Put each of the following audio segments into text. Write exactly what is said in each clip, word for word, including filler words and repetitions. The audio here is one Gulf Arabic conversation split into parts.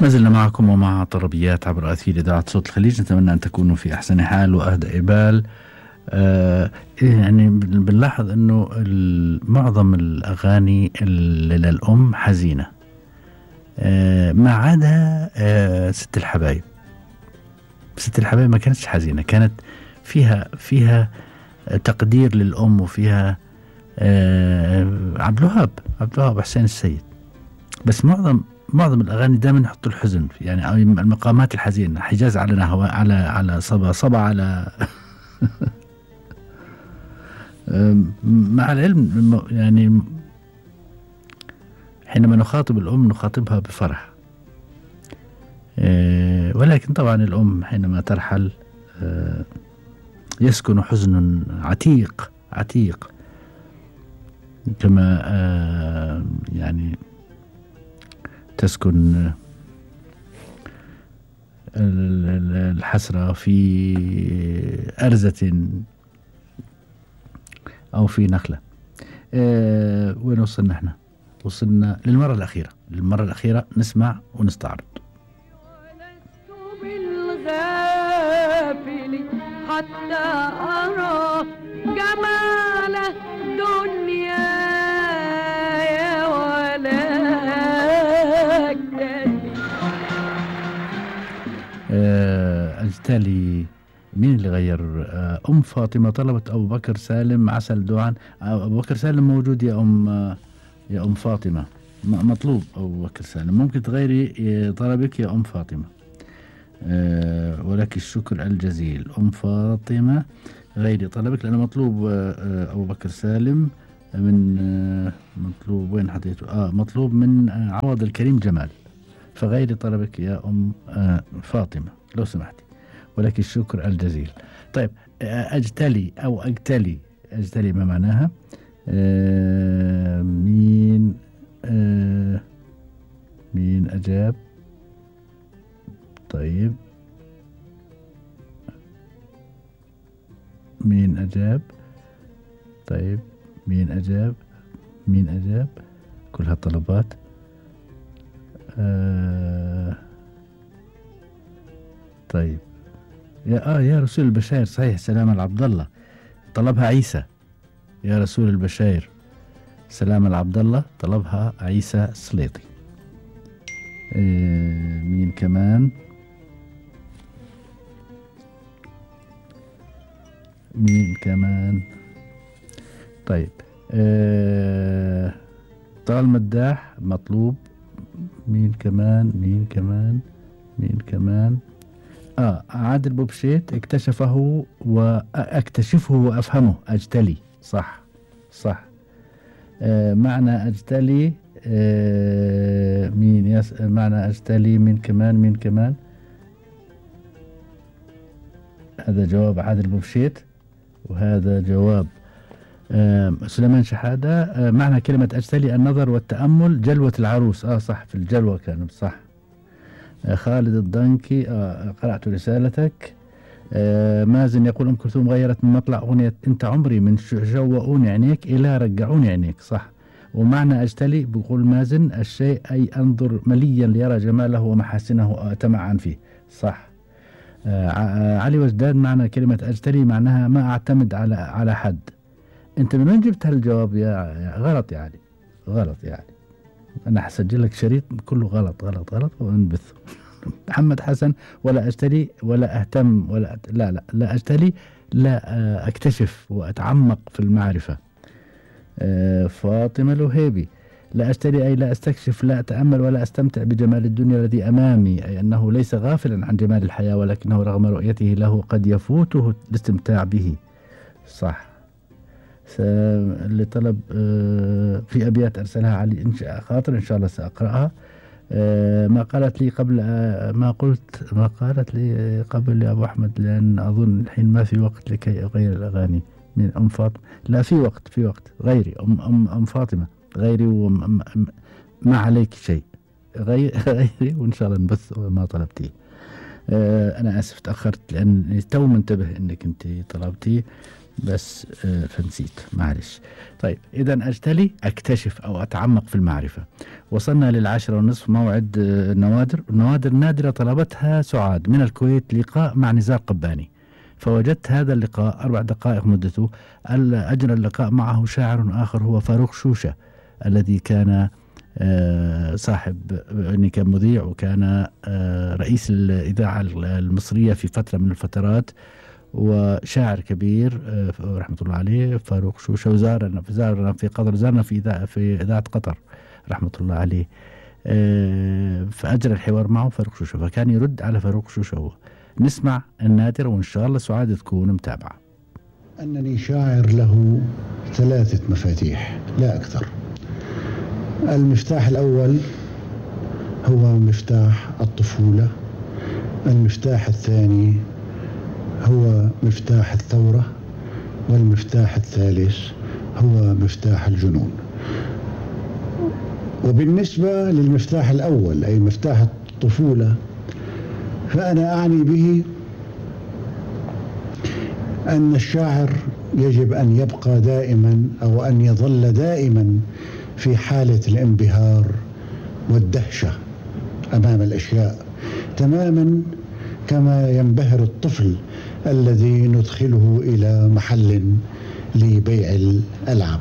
ما زلنا معكم ومع طربيات عبر أثير إذاعة صوت الخليج. نتمنى أن تكونوا في أحسن حال وأهدأ بال. آه يعني بنلاحظ أنه معظم الأغاني للأم حزينة، آه ما عدا آه ست الحبايب. ست الحبايب ما كانتش حزينة، كانت فيها فيها تقدير للأم، وفيها آه عبد الوهاب عبد الوهاب حسين السيد. بس معظم معظم الأغاني دائما يحطوا الحزن، يعني المقامات الحزينة. حجاز على نهوى، على على صبا صبا على مع العلم يعني حينما نخاطب الأم نخاطبها بفرح، ولكن طبعا الأم حينما ترحل يسكن حزن عتيق عتيق، كما يعني تسكن الحسرة في أرزة أو في نخلة. أه وين وصلنا احنا؟ وصلنا للمرة الأخيرة. للمرة الأخيرة نسمع ونستعرض. ولست بالغافل حتى أرى جمال الدنيا يا ولكن أه أجتلي. مين اللي غير؟ أم فاطمة طلبت أبو بكر سالم عسل دعاء. أبو بكر سالم موجود يا أم يا أم فاطمة، مطلوب أبو بكر سالم. ممكن تغيري طلبك يا أم فاطمة. أه ولك الشكر الجزيل أم فاطمة، غيري طلبك لأنه مطلوب أبو بكر سالم من أه مطلوب. وين حطيته؟ آه مطلوب من عوض الكريم جمال، فغيري طلبك يا أم أه فاطمة لو سمحتي، ولك الشكر الجزيل. طيب أجتلي أو أجتلي، أجتلي ما معناها؟ آه مين آه مين أجاب؟ طيب مين أجاب؟ طيب مين أجاب؟ مين أجاب؟ كل هالطلبات. آه طيب يا آه يا رسول البشاير، صحيح، سلام العبد الله طلبها عيسى. يا رسول البشاير سلام العبد الله طلبها عيسى السليطي. إيه مين كمان؟ مين كمان؟ طيب إيه طال مداح مطلوب. مين كمان؟ مين كمان؟ مين كمان؟ آه عادل بوبشيت اكتشفه وأكتشفه وأفهمه. أجتلي، صح صح. آه معنى أجتلي آه مين يس معنى أجتلي. مين كمان؟ مين كمان؟ هذا جواب عادل بوبشيت، وهذا جواب آه سليمان شحادة. آه معنى كلمة أجتلي النظر والتأمل، جلوة العروس. آه صح، في الجلوة كانت، صح. خالد الضنكي، آه قرأت رسالتك. آه مازن يقول أم كلثوم غيرت من مطلع أغنية أنت عمري من شوقوني عينيك إلى رجعوني عينيك، صح. ومعنى أجتلي بيقول مازن الشيء أي أنظر مليا ليرى جماله ومحاسنه أتمعن فيه، صح. آه علي وجدان معنى كلمة أجتلي معناها ما أعتمد على على حد. أنت من وين جبت هالجواب يا, يا غلط يعني غلط يعني أنا حسجل لك شريط كله غلط غلط غلط وانبث. محمد حسن ولا أجتلي ولا أهتم ولا أت... لا لا لا أجتلي، لا أكتشف وأتعمق في المعرفة. أه فاطمة الوهيبي لا أجتلي أي لا أستكشف، لا أتأمل ولا أستمتع بجمال الدنيا الذي أمامي، أي أنه ليس غافلا عن جمال الحياة ولكنه رغم رؤيته له قد يفوته الاستمتاع به، صح. اللي طلب أه في أبيات أرسلها علي إن شاء خاطر إن شاء الله سأقرأها. أه ما قالت لي قبل أه ما قلت ما قالت لي قبل يا أبو أحمد، لأن أظن الحين ما في وقت لكي أغير الأغاني. من أم فاطمة، لا في وقت في وقت غيري. أم أم أم فاطمة غيري وما عليك شيء، غير غيري وإن شاء الله نبث ما طلبتيه. أه أنا آسف تأخرت لأن تو منتبه إنك أنت طلبتي. بس آه فنسيت معلش. طيب إذا أجتلي أكتشف أو أتعمق في المعرفة. وصلنا للعاشرة ونصف موعد آه النوادر. النوادر النادرة طلبتها سعاد من الكويت لقاء مع نزار قباني، فوجدت هذا اللقاء أربع دقائق مدته. أجرى اللقاء معه شاعر آخر هو فاروق شوشة الذي كان آه صاحب يعني كان مذيع، وكان آه رئيس الإذاعة المصرية في فترة من الفترات، وشاعر كبير آه رحمة الله عليه فاروق شوشة. وزارنا زارنا في قطر، زارنا في إذاعة في إذاعة قطر رحمة الله عليه. آه فأجرى الحوار معه فاروق شوشة، فكان يرد على فاروق شوشة. هو نسمع النادر وإن شاء الله سعاد تكون متابعة. أنني شاعر له ثلاثة مفاتيح لا أكثر. المفتاح الأول هو مفتاح الطفولة، المفتاح الثاني هو مفتاح الثورة، والمفتاح الثالث هو مفتاح الجنون. وبالنسبة للمفتاح الأول أي مفتاح الطفولة، فأنا أعني به أن الشاعر يجب أن يبقى دائما أو أن يظل دائما في حالة الانبهار والدهشة أمام الأشياء، تماما كما ينبهر الطفل الذي ندخله إلى محل لبيع الألعاب.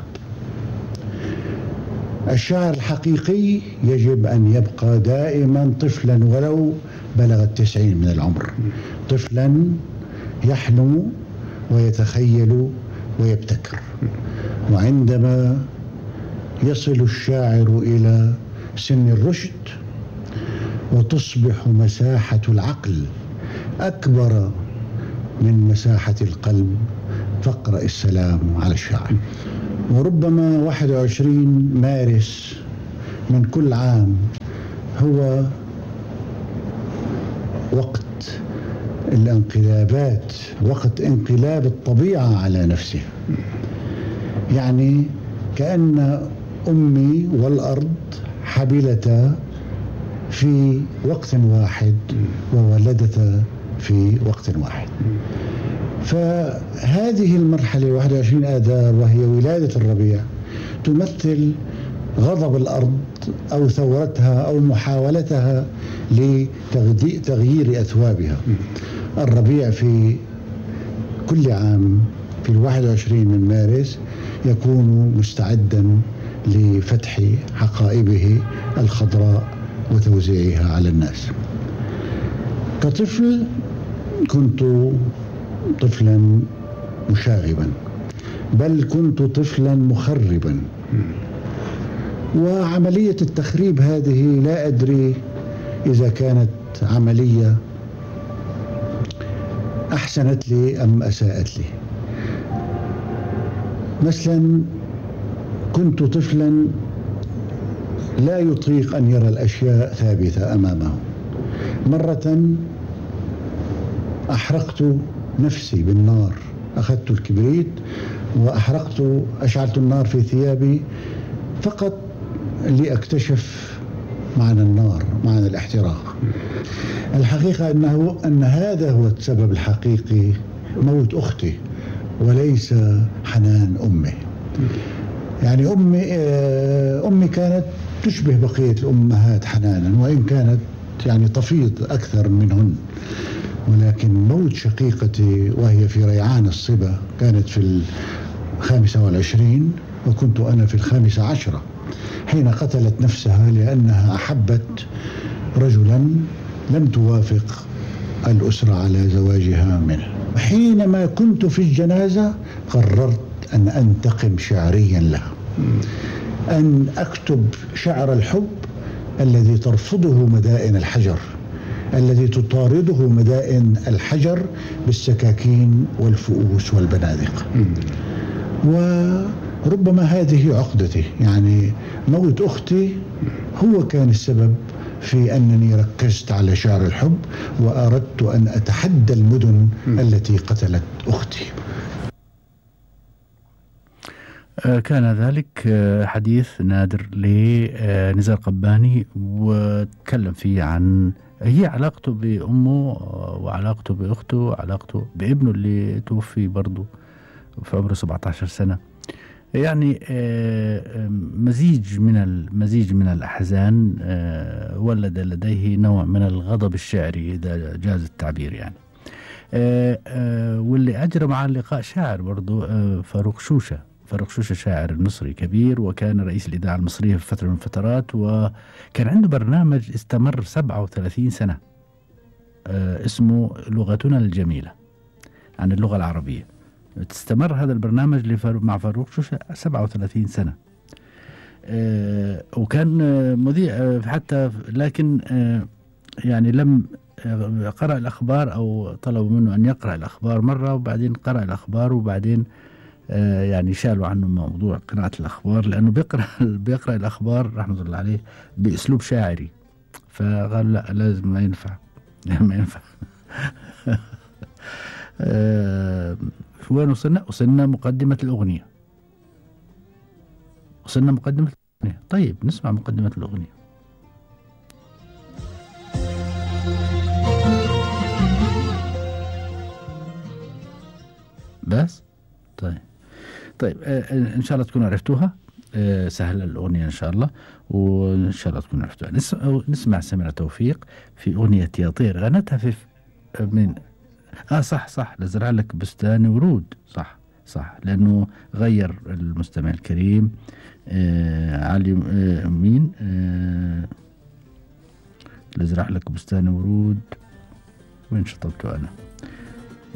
الشاعر الحقيقي يجب أن يبقى دائما طفلا ولو بلغ التسعين من العمر، طفلا يحلم ويتخيل ويبتكر. وعندما يصل الشاعر إلى سن الرشد وتصبح مساحة العقل أكبر من مساحة القلب، فاقرأ السلام على الشاعر. وربما واحد وعشرين مارس من كل عام هو وقت الانقلابات، وقت انقلاب الطبيعة على نفسها. يعني كأن أمي والأرض حبلتا في وقت واحد وولدتا في وقت واحد. فهذه المرحلة واحد وعشرين آذار وهي ولادة الربيع تمثل غضب الأرض أو ثورتها أو محاولتها لتغيير أثوابها. الربيع في كل عام في الواحد وعشرين من مارس يكون مستعدا لفتح حقائبه الخضراء وتوزيعها على الناس. كطفل كنت طفلا مشاغبا، بل كنت طفلا مخربا. وعملية التخريب هذه لا أدري إذا كانت عملية أحسنت لي أم أساءت لي. مثلا كنت طفلا لا يطيق أن يرى الأشياء ثابتة أمامه. مرة أحرقت نفسي بالنار، أخذت الكبريت وأحرقت أشعلت النار في ثيابي فقط لأكتشف معنى النار، معنى الاحتراق. الحقيقة أنه أن هذا هو السبب الحقيقي، موت أختي وليس حنان أمي. يعني أمي أمي كانت تشبه بقية الأمهات حنانا، وإن كانت يعني تفيض أكثر منهن، ولكن موت شقيقتي وهي في ريعان الصبا كانت في الخامسة والعشرين وكنت أنا في الخامسة عشرة، حين قتلت نفسها لأنها أحبت رجلا لم توافق الأسرة على زواجها منه. حينما كنت في الجنازة قررت أن أنتقم شعريا لها، أن أكتب شعر الحب الذي ترفضه مدائن الحجر، الذي تطارده مدائن الحجر بالسكاكين والفؤوس والبنادق. وربما هذه عقدتي، يعني موت أختي هو كان السبب في أنني ركزت على شعر الحب وأردت أن أتحدى المدن التي قتلت أختي. كان ذلك حديث نادر لنزار قباني، وتكلم فيه عن هي علاقته بأمه وعلاقته بأخته وعلاقته بابنه اللي توفي برضو في عمره سبعة عشر سنة. يعني آه، مزيج من المزيج من الأحزان آه، ولد لديه نوع من الغضب الشعري إذا جاز التعبير يعني. آه، آه، واللي أجرى مع اللقاء شاعر برضو آه، فاروق شوشة. فاروق شوشة شاعر مصري كبير، وكان رئيس الإذاعة المصرية في فترة من الفترات، وكان عنده برنامج استمر سبعة وثلاثين سنة آه، اسمه لغتنا الجميلة عن اللغة العربية. تستمر هذا البرنامج لفاروق مع فاروق شوشة سبعة وثلاثين سنة. آه، وكان آه، مذيع آه، حتى، لكن آه، يعني لم آه، قرأ الأخبار أو طلبوا منه أن يقرأ الأخبار مرة، وبعدين قرأ الأخبار، وبعدين آه، يعني شالوا عنه موضوع قراءة الأخبار، لأنه بيقرأ بيقرأ الأخبار رحمة الله عليه بأسلوب شاعري، فقال لا لازم ما ينفع ما ينفع. آه، وين وصلنا؟ وصلنا مقدمة الأغنية. وصلنا مقدمة الأغنية. طيب نسمع مقدمة الأغنية. بس طيب طيب آه إن شاء الله تكونوا عرفتوها. آه سهلة الأغنية إن شاء الله، وإن شاء الله تكونوا عرفتوها. نس- نسمع سميرة توفيق في أغنية يا طير، غنتها في من اه صح صح لزرع لك بستان ورود. صح صح لأنه غير المستمع الكريم آه علي آه مين آه لزرع لك بستان ورود. وين شطبته أنا؟